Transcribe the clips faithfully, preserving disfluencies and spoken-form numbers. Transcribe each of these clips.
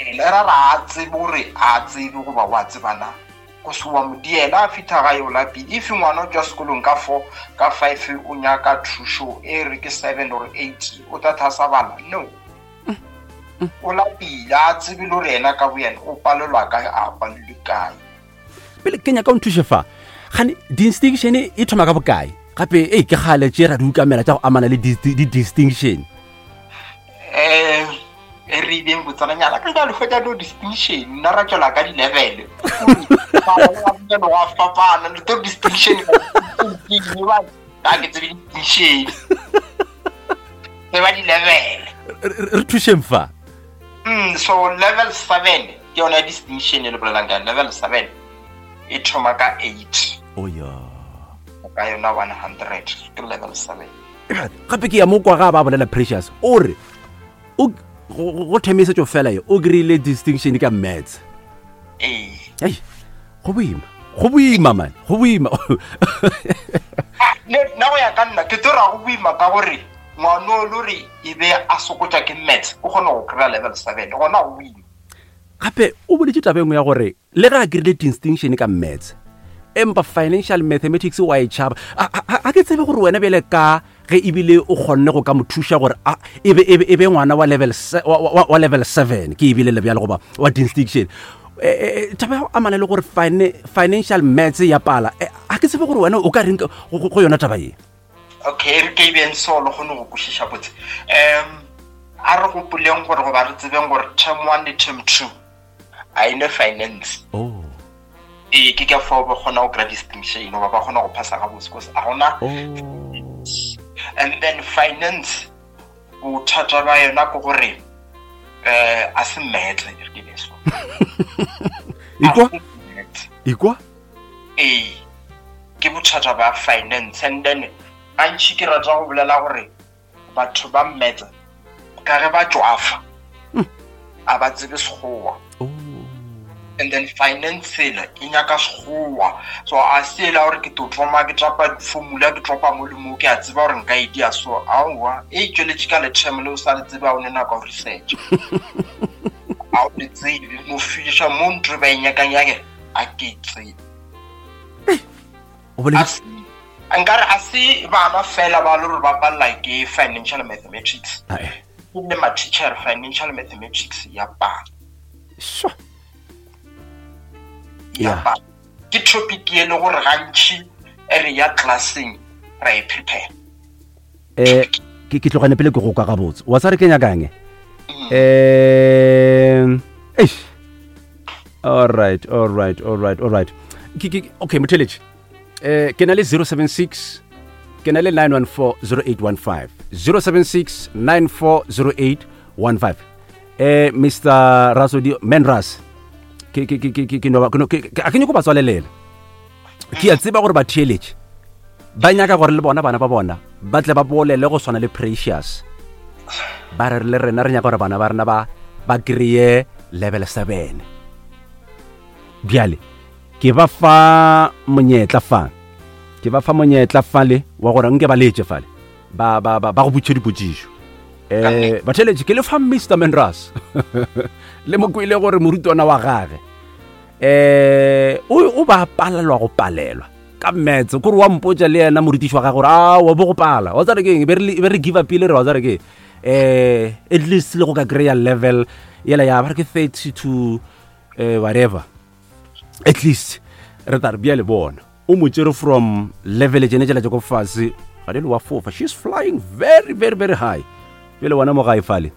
Le ra ra a tsebe gore a tsebe goba wa tsebana go se wa modiela a fitlha gae o lapile. If ngwana o tswa sekolong ka four, ka five, o nyaka thušo e re ke seven or eight, o tla thasa bala? No, o lapile, a tsebe le gore yena ka boyena o palelwa kae, a palelwe kae. Pele ke nyaka o nthuše fa, gane distinction e thoma ka bokae gape? Ei, ke kgale tše ra di ukamela tša go amana le di-distinction. um e re beng botsananyana ka jalo hwetša no distinction, nna ra tswela ka di-level wa fapana le to distinction ga ke tsebe distinction, tseba di-level. Re thušeng fa. mm, so level seven ke yona distinction e le bolelang ka level seven, e thoma ka eight. O ya. Ka yona one hundred ke level seven. Gape ke ya mo kwa ga ba bolela Precious o re o go themisetso fela ye o kry-ile distinction ka maths. Ee. Ei, go boima, go boima man, go boima. Nna go ya ka nna ke tlo ra go boima ka gore ngwana o le gore e be a sokotša ke maths, o kgone go kry-a level seven, gona go boima. Gape o boletse taba engwe ya gore le ge a kry-ile distinction ka maths, empa financial mathematics wa e tšhaba. A ke tsebe gore wena bjale ka ge ebile o kgonne go ka mo thuša gore e be e be ngwana wa level wa level seven ke ebile le bjale goba wa distinction, taba ya go amana le gore financial maths ya pala, a ke tsebe gore wena o ka reng go yona taba ye. Okay, re ke beng so le kgone go kwešiša botse. um a re gopoleng gore goba re tsebeng gore term one le term two a ene finance. Oh. Ee, ke ka fao ba kgona go kry-a distinction goba ba kgona go phasa gabotse cause a gona. And then finance bothata ba yona ke gore um a se maths, re ke beso. Ikwa ikwa. Ee, ke bothata ba finance. And then gantši ke rata go bolela gore batho ba maths ka ge ba tšwafa, a ba tsebe sekgowa, and then finance ela e nyaka sekgowa, so a se ela gore ke tlo thoma ke tapa formula, ke tropa mo le mo, ke a tseba gore nka e dia. So aowa, e tsweletše ka le-term le o sa le tsebe, a o ne nako ya go research, a o le tsebe no fediša mo ntho ba e nyakang yake, a ke e tsebe. Nkare a se bana fela ba le gore ba palela ke financial mathematics, le ma-teacher financial mathematics ya pala. Sure. Ya pala ke topic e le gore gantši e re ya classeng ra e prepare. Eh, ke ke tlogane pele ke go kwa gabotse wa sa re ke nyakang eh eish. All right, all right, all right, all right. Ke ke okay, motheletši, eh ke na le zero seven six, ke na le nine one four zero eight one five, zero seven six nine four zero eight one five. Eh Mister Rasodi Menras, ke ke ke ke ke no ke a ke nyako ba tswalelela. Ke a tseba gore ba theeletše ba nyaka gore le bona bana ba bona ba tle ba bolele go swana le Precious, ba re le rena re nyaka gore bana ba rena ba ba kry-e level seven. Bjale ke ba fa monyetla fa, ke ba fa monyetla fale wa gore nke ba letse fale ba ba ba go botše dipotšišo. Eh batheletše ke le fa Mister Menras le mo kwele gore morutwana wa gage eh o ba palelwa go palelwa ka maths, kore wa mpotša le yena morutiši wa gage gore a wa bo go pala wa tsare keng, be re give up pele re wa tsare ke eh at least le go ka kry-a level yela ya ba re ke thirty to eh whatever, at least re tla re bjale bona o mo tšere from level tšene tšela tša ko fase ga le wa fofa, she's flying very very very high. Bjale wena mo gae fale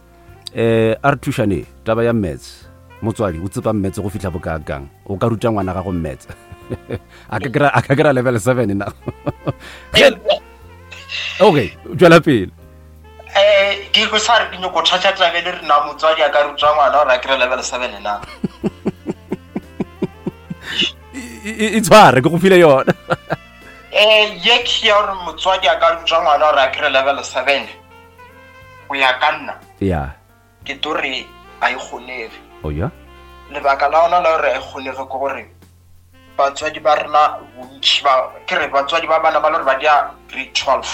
eh a re thušane taba ya maths, motswadi o tsepa maths go fihla bokakang, o ka ruta ngwana gago maths a ka kry-a a ka kry-a level seven na? Okay, tswela pele. Eh ke go sa re ke nyoko thatha tlabe le rena motswadi a ka ruta ngwana gore a kry-e level seven na? E tshware ke go file yona. Eh ye ke ya gore motswadi a ka ruta ngwana gore a kry-e level seven, go ya ka nna ya ke tlo re a e kgonege. Oh ya. Lebaka la ona la gore a e kgonege ke gore batswadi ba rena bontši ba ke re batswadi ba bana ba le gore ba dia grade twelve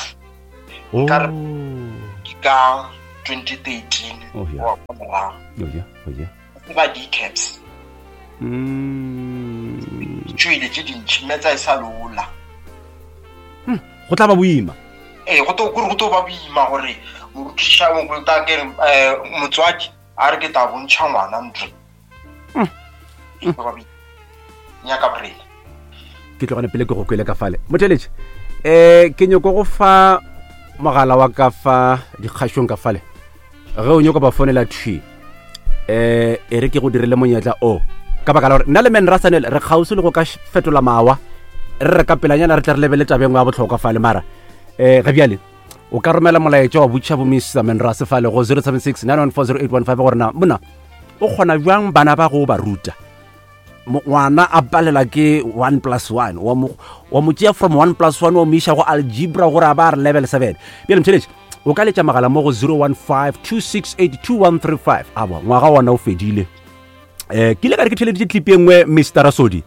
ka re ke ka twenty thirteen Oh, yeah. wa morago. Oh yeah, oh yeah. Ba di-caps Mm. Tšwele tše dintšhi metsa e sa lola. Go tla ba boima. Ee, go to kore go to ba boima gore morutiša mongwe ta ke re um motswadi a re ke tla bontšha ngwana ntlo. E tlo ba boima. Nyaka borena. Ke tlogane pele ke go kwele ka fale motheletše. Um ke nyoko go fa mogala wa ka fa dikgašong ka fale ge o nyoko ba fonela thwi, um e re ke go dirile monyetla o ka baka la gore nna le men rasanel re kgauswi le go ka š- fetola mawa re re ka pelanyana re tle re lebele tabeng ya bohlokwa fale. Mara um ga bjale o ka romela molaetša wa botšiša bo Mister Menrase fale go zero seven six nine one four zero eight one five gore na mona o kgona bjang bana ba go ba ruta. Mo- ngwana a palela ke one plus one, wa mo wa mo tšea from one plus one wa mo iša go algebra gore a ba a re level seven. Bjale mtheletše o ka letša magala mo go zero one five two six eight two one three five. Aba ngwaga wona o fedile. Um ke ile ka re ke theleditše clip e nngwe Mister Rasodi.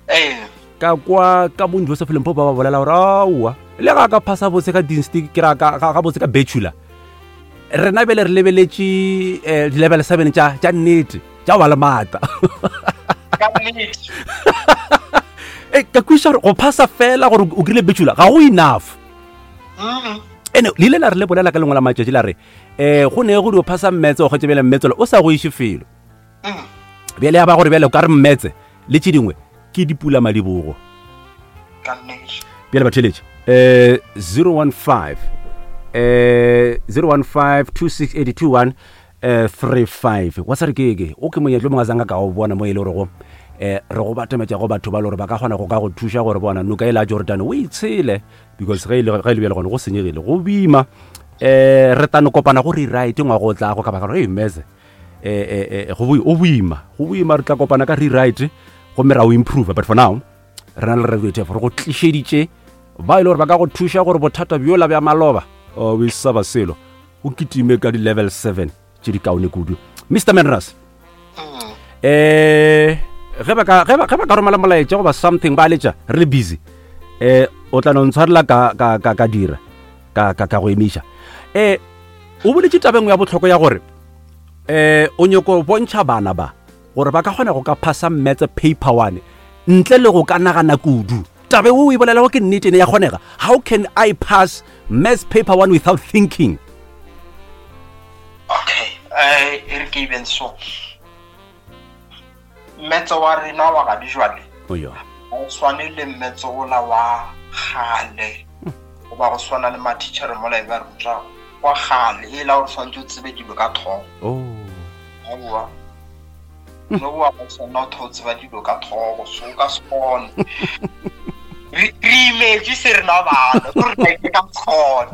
Ee. Ka kwa ka bo Joseph Limpopo ba ba bolela gore aowa le ga ka phasa botse ka dinsti ke ra ka ga botse ka bachelor, rena bjale re lebeletše um di-level seven tša tša nnete tša ba le maatla. Ka nnete. E ka kweša gore go phasa fela gore o kry-ile bachelor ga go enough. Mm. Ene le ile la re le bolela ka lengwe la matšatši la re um go ne go dio phasa mmetse o kgwetse bjale mmetse o sa go iše felo. Mm. Bjale ya ba gore bjale o ka re mmetse le tše dingwe ke dipula madibogo. Ka nnete. Bjale batheletše um zero one five um zero one five two six eight two one um three five wa sa re ke ke o ke monyetlo mongwe a zanga ka o bona mo e le gorego um re go batametša go batho ba le gore ba ka kgona go ka go thuša gore bona noka e la Jordan o itshele because ge e le ge e le bjale gone go senyegile go boima. Um re tano kopana go rewrite ngwago o tlago ka baka la gore ei meze eh eh go o boima go boima re tla kopana ka rewrite gomme ra o improve. But for now re na le Radio T F re go tlišeditše ba e le gore ba ka go thuša gore bothata bjola bja maloba o e sa ba selo o kitime ka di-level seven tše di kaone kudu. Mister Menras, Mm. eh ge ba ka ge ba ge ba ka romela molaetša goba something ba letša re le busy, eh o tla no ntshwarela ka ka ka ka dira ka ka ka go emiša. Eh o boletše tabeng ya bohlokwa ya gore eh o nyoko bontšha bana ba gore ba ka kgona go ka phasa maths paper one ntle le go ka nagana kudu. Tabe o e bolelago ke nnete ene ya kgonega. How can I pass maths paper one without thinking? Okay, eh e re ke eben so. Mmetse wa rena wa ga dijwale oyo ga o tshwane le mmetse ola wa kgale goba go swana le matitšhere mola e ba ruta wa kgale e la gore tshwanetse o tsebe dilo ka tlhogo. Oh. Aowa, no wa go tshwanela o tho tseba dilo ka tlhogo, so o ka se kgone. Re re imetswe se rena bana ko re ka ka se kgone,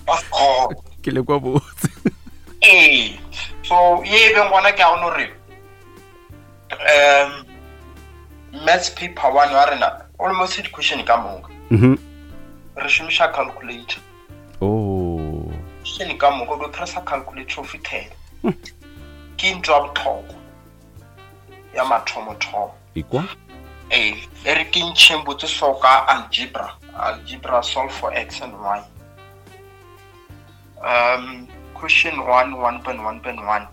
ka se kgone. Ke le kwa botse. Ee, so ye e beng gona ke a gone gore um maths paper one wa rena almost di-question ka moka Mhm. re šomiša calculator. Oh. Question ka moka o do pressa calculator o fitlhela ke ntho ya botlhokwa ya mathomothomo. Ikwa? Ee, e re ke ntšheng botse so ka algebra. Algebra solve for x and y. Um question one one point one point one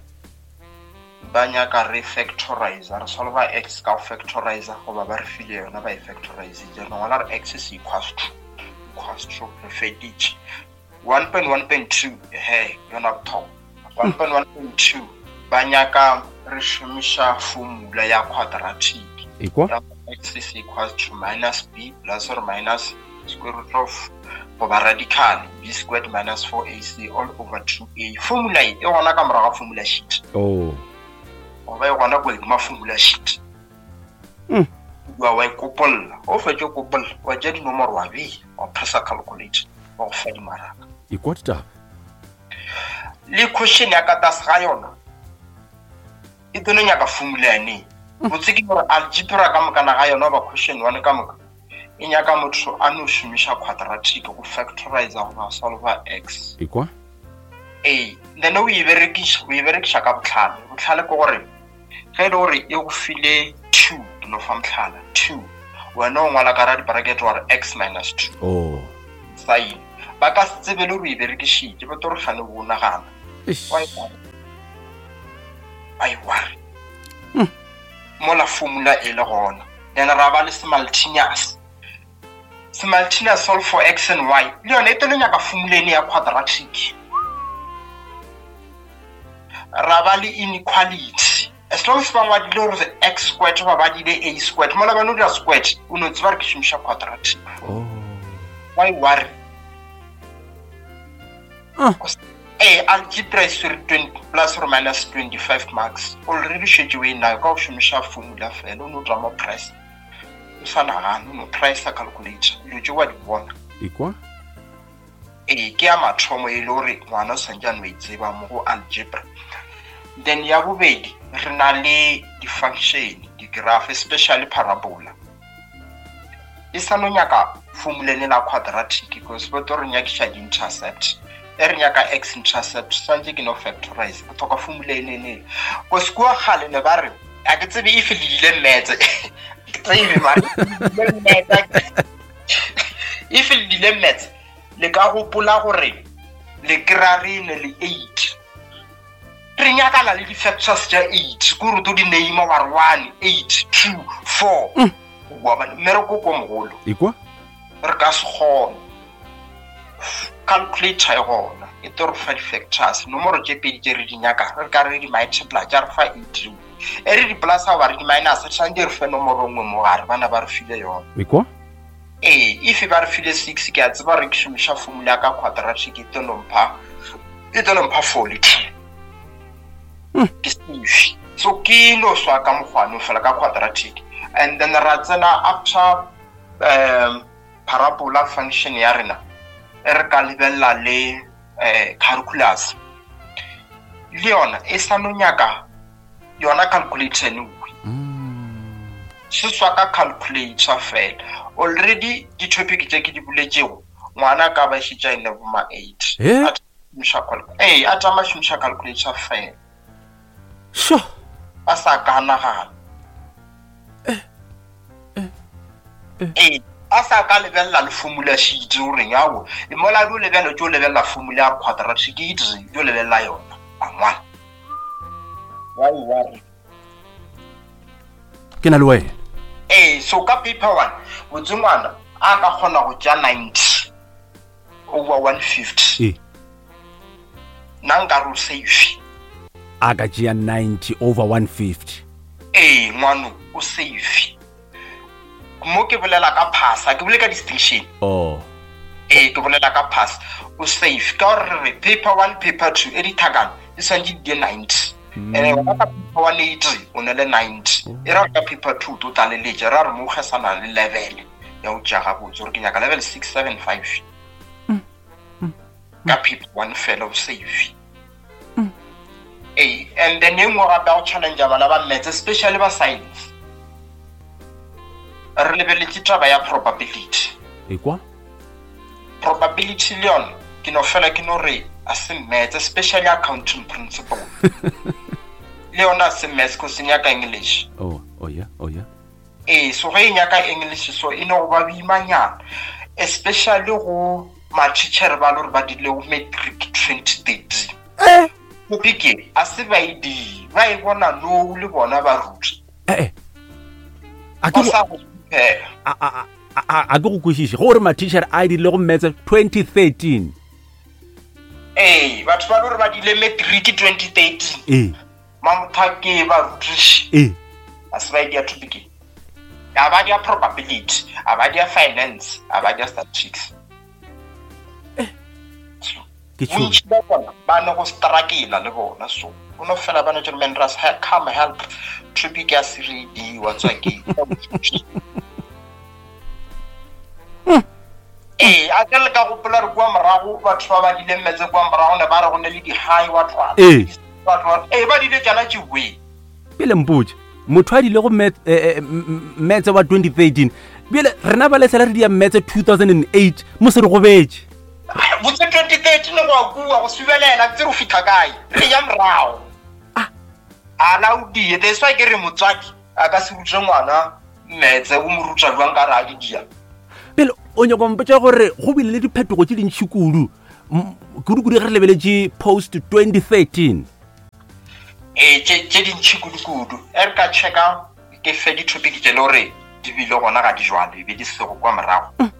ba nyaka re factorizer, re solva x ka go factorizer goba ba re file yona ba e factorizitse, re ngwala re x is equals to equals to re feditše. One point one point two he yona botlhokwa. One point one point two ba nyaka re šomiša formula ya quadratic. Ikwa? Ya x is equals to minus b plus or minus square root of goba radical b squared minus four a c all over two a. Formula e e gona ka morago ga formula sheet. Oh. Goba e gona ko godimo formula sheet. Mm. Wa wa e kopolla, o fetše kopolla, wa tšea dinomoro wa bea, wa pressa calculator, wa go fa dimaraka. Ikwa ditaba? Le question ya ka tlase ga yona e tlo no nyaka formula yane. Botse ke gore algebra ka mokana ga yona goba question one ka moka e nyaka motho a no šomiša quadratic go factorizer goba solva x. Ikwa? Ee, then o e berekiša, o e berekiša ka botlhale. Botlhale ke gore ge e le gore e go file two, ke no fa mohlala two, wena o ngwala ka ra di-bracket wa re x minus two. Oh. Sign ba ka se tsebe le gore o e berekišitše, ba tlo re gane bo nagana. Eish. Wa e Why worry? Mola formula e le gona. Then ra ba le simultaneous. Simultaneous solve for x and y. Le yona e tlo nyaka formula ene ya quadratic. Ra ba le inequality. As long as ba ngwadile gore x squared ba badile a squared, mola ba no dira squared, o no tseba re ke šomiša quadratic. Oh. Why worry? Ah. Eh, algebra is twenty plus or minus twenty-five marks. Already šetše o e nayo ka go šomiša formula fela, o no tla mo price. O sa nagane, o no price calculator. Dilo tše wa di bona. Ekwa? Ee, ke ya mathomo e le gore ngwana o swantse a no e tseba mo go algebra. Then ya bobedi, re na le di-function, di-graph, especially parabola. E sa no nyaka formula ene la quadratic, because bo tlo re nyakiša di-intercept. E re nyaka x intercept, swantse ke no factorize. Go tlhoka formula ene ene. Cause kua kgale ne ba re, a ke tsebe if le dile maths. Ke tsebe mara, if le dile maths, le ka gopola gore le kry-a re ne le eight. Re nyakana le di-factors tša eight, ke gore o tlo di name wa re one, eight, two, four. Wa bona, mmereko ko mogolo. Ekwa? Re ka se kgone. Calculator e gona, e tlo re fa di-factors, nomoro tše pedi tše re di nyakang, re ka re di multiply, tša re fa eight. E re di plus goba re di minus, re tshwanetse re fe nomoro nngwe mo gare, bana ba re file yona. Ekwa? Ee, if ba re file six, ke a tseba re ke šomiša formula ka quadratic, e tlo no mpha, e tlo no mpha four le two. Ke safe. So ke no swa ka mokgwa fela ka quadratic. And then ra tsena after, um, parabola function ya rena, e re ka lebelela le, eh, calculus. Le yona e sa no nyaka yona calculator ene nngwe. Se swa ka calculator fela. Already di-topic tše ke di boletšego, ngwana ka ba šetše a ene bo ma eight. Eh? A šomiša cal-, ee, a tšama šomiša calculator fela. Sure. A sa ka nagana. Eh, eh, eh. Ee, a sa ka lebelela le formula sheet o reng ao. E mola di o lebelela, tšo lebelela formula ya quadratic, ke e dire, di o lebelela yona. A ngwana. Why worry? Ke na le wena. Ee, so ka paper one, botse ngwana a ka kgona go tšea ninety over one fifty. Ee. Nna nka re o safe. A ka tšea ninety over one fifty. Ee, ngwano o safe. Mo ke bolela ka pass, ha ke bolele ka distinction. Oh. Ee, ke bolela ka pass. O safe. Ka gore re re paper one, paper two, e dithakana, e swantse di die ninety. Mm. Ene wena ka paper one eighty, o ne le ninety. E ra ka paper two, o tlo tlaleletša, ra re mo kgesana le level ya ho tšea gabotse, gore ke nyaka level six, seven, five. Mm. Mm. Ka paper one fela o safe. Mm. Ee, and then e nngwe gape ya go challenge bana ba maths, especially ba science. Re lebeletse taba ya probability. Ekwa? Probability le yona, ke no fela ke no re a se maths, especially accounting principle. Le yona a se maths, 'cause e nyaka English. Oh, oh yeah, oh yeah. Ee, so ge e nyaka English, so e no go ba boimanyana, especially go ma-teacher ba le gore ba dirile go matric twenty thirteen. Eh? Topic e, a se ba e die, ba e bona nou le bona ba ruta. Eh, eh. A ke Ba go sa go prepare. A, a, a, a, a ke go kwešiše, gore ma-teacher a dirile go maths twenty thirteen. Ee, batho ba le gore ba dirile matric twenty thirteen. Ee. Mamothake ba rutiši. Ee. A se ba e dia topic e. A ba dia probability, a ba dia finance, a ba dia statistics. Eh. Ke tšhoga. Bontši ba bona ba ne go struggle le bona, so o no fela ba no tšere, man, Ras, come help. Topic ya se re di wa tswa ke. Ee, a ke le ka gopola re kua morago, batho ba ba dileng metse kua morago ne ba re go ne le di-high wa tlwala. Ee. Batho ba re, ee, ba dile tšana tše we. Pele mpotše, motho a dile go met-, eh, eh, m-, m-, metse wa twenty thirteen, bjale rena ba lesela re dia metse two thousand and eight, mo se re gobetše. Botse twenty thirteen go a kua, go subelela, ke tsere go fihla kae? Re ya morago. Ah. A la o die, that's why ke re motswadi a ka se rute ngwana metse, o mo ruta jwang ka re a di dia. Pele o nyaka go mpotša gore go bile le diphetogo tše dintši kudu, m-, kudu-kudu ge re lebeletše post twenty thirteen. Ee, tše tše dintšhi kudu-kudu. E re ka checka ke fe di-topic tše le gore di bile gona ga di jwale, e be di sego kwa morago.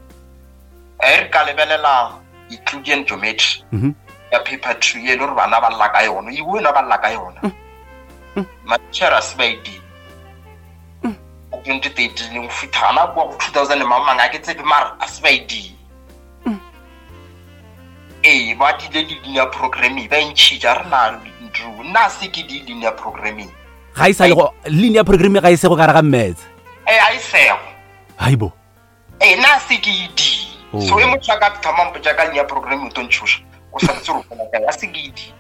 E re ka lebelela Euclidean geometry Mhm. ya paper two ye e le gore bana ba lla ka yona, e wena ba lla ka yona. Matitjhere a se ba e di. twenty thirteen go fitlha gana kwa go two thousand mang mang a ke tsebe mara a se ba e di. Ee, ba dile le linear programming ba e ntšhitša re na ntho nna se ke di linear programming. Ga e sa le go linear programming ga e se go gare ga maths. Ee, a e sego. Haibo. Ee, nna se ke e di. Oh. So e motho a ka thoma mpotša ka linear programming o tlo ntšhoša. O sa tsebe gore o bona kae, a se ke e di.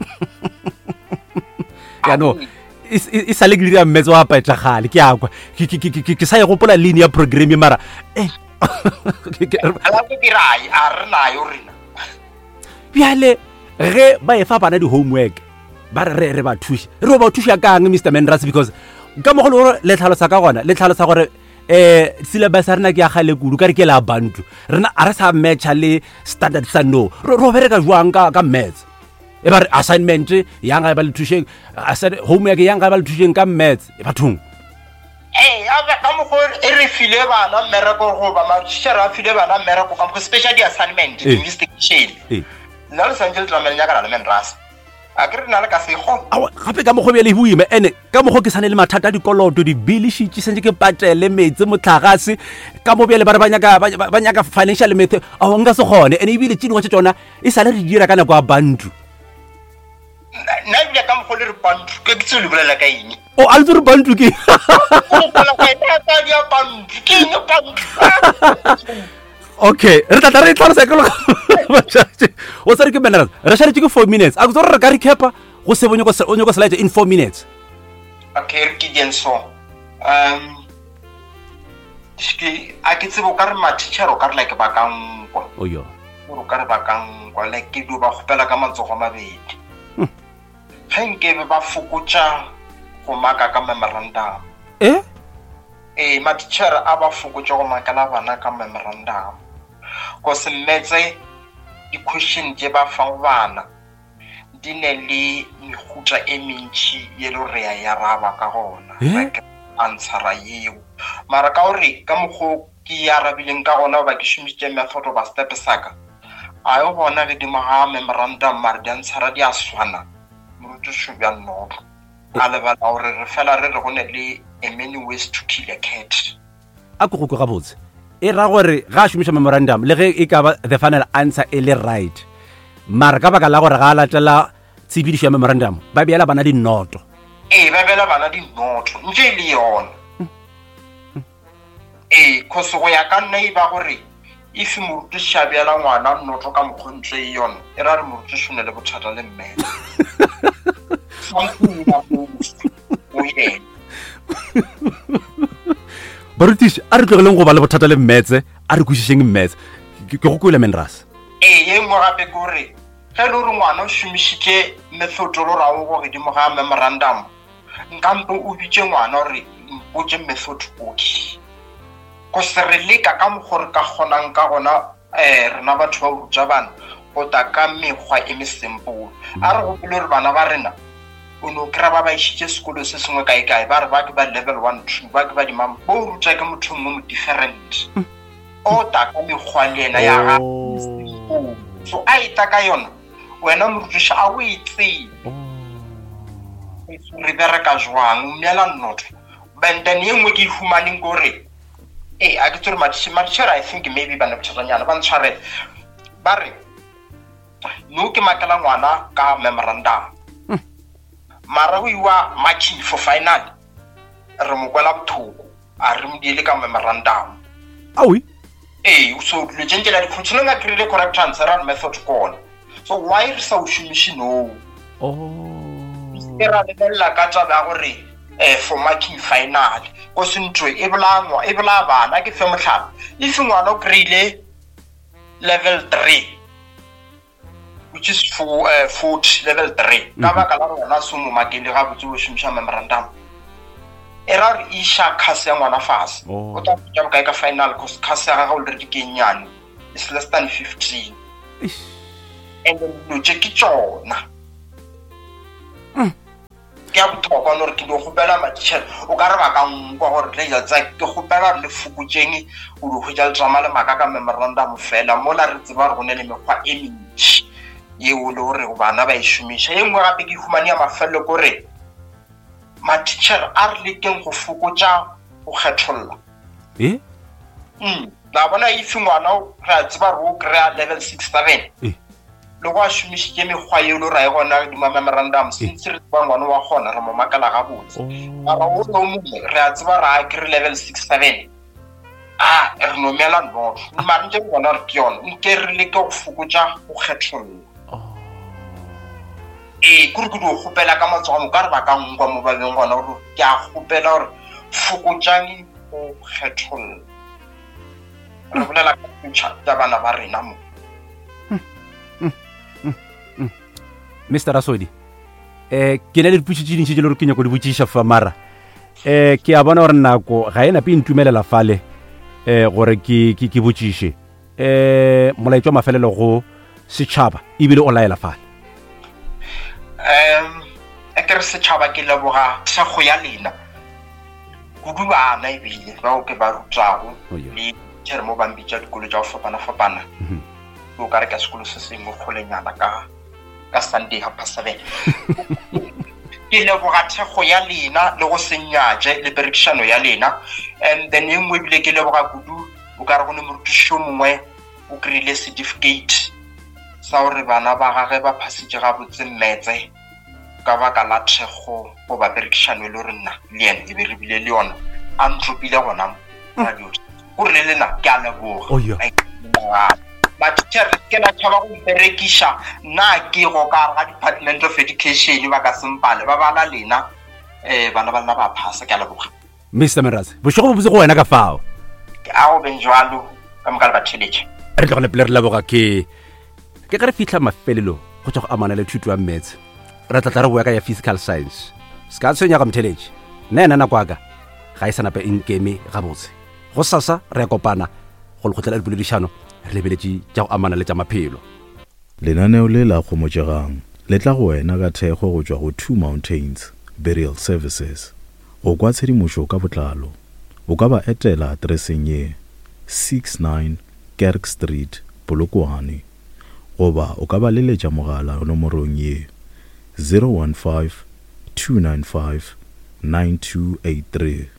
Ya no e e- e sa le ke dira maths wa paetšagale ke a kwa. Ke ke ke ke- ke sa e gopola linear programming mara eh ke- ke- Ala ke ke rai, a re nayo rena. Bjale ge ba e fa bana di-homework ba re re re ba thuše, re o ba thuša kang Mister Menras? Because ka mokgwa le gore le tlhalosa ka gona, le tlhalosa gore um syllabus ya rena ke ya kgale kudu, ka re ke la bantu rena a re sa matcha le standard sa no. Re re o bereka jwang ka ka maths? E ba re assignment yang ga e ba le thušeng, assi- homework yang ga e ba le thušeng ka maths e bathong. Ee, a be- ka mokgwa e re file bana mmereko goba matitjhere a file bana mmereko ka mokgwa, especially di-assignment, Ee. di-investigation. Ee. Nna le santse le tlamele nyakana le Menras. A ke re nna le ka se e kgone. Aowa, gape ka mokgwa bjale e boima ene ka mokgwa ke sane le mathata a dikoloto, dibili šitše santse ke patele metsi motlagase ka mo bjale ba re ba nyaka ba- ba ba nyaka financial method, ao nka se kgone. Ene ebile tše dingwe tša tšona e sale re di dira ka nako ya bantu. Nna nna ebile ka mokgwa le re bantu, ke ke tsebe le bolela ka eng. O a le tsere bantu ke O bolela ka eng? Ka di ya bantu, ke eng bantu? Okay, re tla tla re e tlhalosa ke o tsere ke Menras, re šaletše ke four minutes, a ke tsore re ka recapa go se bo nyako o nyako se in four minutes. Okay, re ke dieng so. Um ke a ke tsebe o ka re matitjhere o ka re like ba ka nkwa. O yo O ka re ba ka nkwa, like ke dio ba kgopela ka matsogo a mabedi. Ge nkebe ba fokotša go maka ka memorandum. Eh? Ee, matitjhere a ba fokotša go makela bana ka memorandum. Cause mmetse di-question tše ba fang bana di ne le mehuta e mentši ye le gore re ya e araba ka gona. Eh? Like answera yeo. Mara ka gore ka mokgwa ke e arabileng ka gona goba ke šomišitše method goba step sa ka, a yo bona godimo ga memorandum mara di-answera di a swana. Morutiši bja nnoto a lebala gore re fela re re go ne le a many ways to kill a cat. A ko go kwa gabotse, e ra gore ga a šomiša memorandum le ge e ka ba the final answer e le right, mara ka baka la gore ga a latela tshepedišo ya memorandum ba beela bana dinoto. Ee, ba beela bana dinoto ntše e le yona. Ee, cause go ya ka nna e ba gore if morutiši a beela ngwana noto ka mokgwa ntse e yona, e ra re morutiši o ne le bothata le mmele. Something in go yena. Barutiši a re tlogeleng go ba le bothata le mmetse, a re kwešišeng mmetse. Ke ke go kwele Menras. Ee, ye nngwe gape ke gore ge e le gore ngwana o šomišitše method o le rago go godimo ga memorandum, nkampe o bitše ngwana gore mpotše method oke. Cause re leka ka mokgwa re ka kgonang ka gona, um rena batho ba ruta bana go ta ka mekgwa e me simple. A re gopole gore bana ba rena o no kry-a ba ba išitše sekolo se sengwe kae-kae, ba re ba ke ba level one two, ba ke ba dimama, bo o ruta ke motho mongwe mo different. O ta ka mekgwa le yena ya gagwe Oh. So a e ta ka yona, wena morutiši a o e tsebe. Re bereka jwang, o mmeela noto. But then ye nngwe ke e humaneng ke gore, ee, a ke tsere matitjhere, I think maybe ba ne bothatanyana, ba ntshwarele. Ba re, no ke makela ngwana ka memorandum. Mara go iwa marking for final, re mo kwela bothoko, a re mo diele ka memorandum. Aoi. Ee, so dilo tše ntše la di-continue a kry-ile correct answer and method kona. So why re sa o šomiše no? Oh. Ke ra lebelela ka taba ya gore eh for marking final, ko se ntho e bolaya ngwa, e bolaya bana. Ke fe mohlala, if ngwana o kry-ile level three, which is four, uh, forty, level three, ka baka la gore wena se o mo makele gabotse o šomiša memorandum, e ra gore iša case ya ngwana fase. Oh. O tla fetša bokae ka final, cause case ya gagwe already ke e nnyane, it's less than fifteen. Eish. And then dilo tše ke tšona. Ke ya botlhokwa no gore ke di kgopela matitšhere o ka re ba ka nkwa gore le tsa ke kgopela gore le fokotseng o di hwetša le tsamaya le maka ka memorandum fela mola re tseba gore go ne le mekgwa e mentši yeo le gore bana ba e šomiša. Ye nngwe gape ke humane ya mafelelo ke gore matitšhere a re lekeng go fokotša go kgetholla. E Mm, la bona if ngwana re a tseba gore o kry-a level six seven Eh. le go a šomišitše mekgwa eo le ra e gona dima memorandum since re tseba ngwana wa kgona re mo makala gabotse. Mara o le o mongwe re a tseba re a kry level six seven a re nomela noto mare ntse re bona gore ke yone nke re leke go fokotša go kgetholla. Ee kore ke di go kgopela ka matsogo mo ka re ba ka nkwa mo ba beng gona gore ke a kgopela gore fokotsang go kgetholla. Re bolela ka future tša bana ba rena mo. Mister Rasodi, eh ke na le dipotšišo tše dintši tše le gore ke nyako di botšiša fa mara eh ke a bona gore nako ga e nape e ntumelela fale eh gore ke ke ke botšiše eh molaetša wa mafelelo go setšhaba ebile o laela fale. Um e ke re setšhaba ke leboga thekgo ya lena kudu bana ebile bao ke ba rutago Oh, yeah. le tšhere mo ba mpitša dikolo tša go fapana-fapana. Mhm. O ka re ka sekolo se sengwe kgolenyana ka ka Sunday half past seven. Ke leboga thekgo ya lena le go se nyatše le perekišano ya lena. And then e nngwe ebile ke leboga kudu o ka re go ne morutiši yo mongwe o kry-ile certificate sa gore bana ba gage ba phasitše gabotse mmetse ka baka la thekgo goba perekišano e le gore nna le yena e be re bile le yona a ntropile gona mo radio. Gore le lena ke a leboga. Oh, yeah. Matitšhere ke la tšhaba go mperekiša nna ke go ka gare ga Department of Education ba ka sempale ba bala lena um bana ba lena ba phasa. Ke a leboga. Mister Merase, bošego bo botse go wena ka fao. Ke a go beng jwalo ka moka le batheletše. Re tlogele pele re leboga ke ke ge re fitlha mafelelo go tšwa go amana le thuto ya mmetse re tla tla re boya ka ya physical science. Se ka tshwenyega motheletše nna ena nako ya ka ga e sa nape e nkeme gabotse. Go sasa re ya kopana go lekgotla la dipoledišano re lebeletše tša go amana le tša maphelo. Lenaneo le la Kgomotšegang le tla go wena ka thekgo go tšwa go Two Mountains Burial Services. Go kwa tshedimošo ka botlalo o ka ba etela atereseng ye six nine Kerk Street, Polokwane, goba o ka ba leletša mogala nomorong ye zero one five two nine five nine two eight three.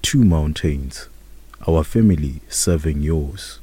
Two Mountains, our family serving yours.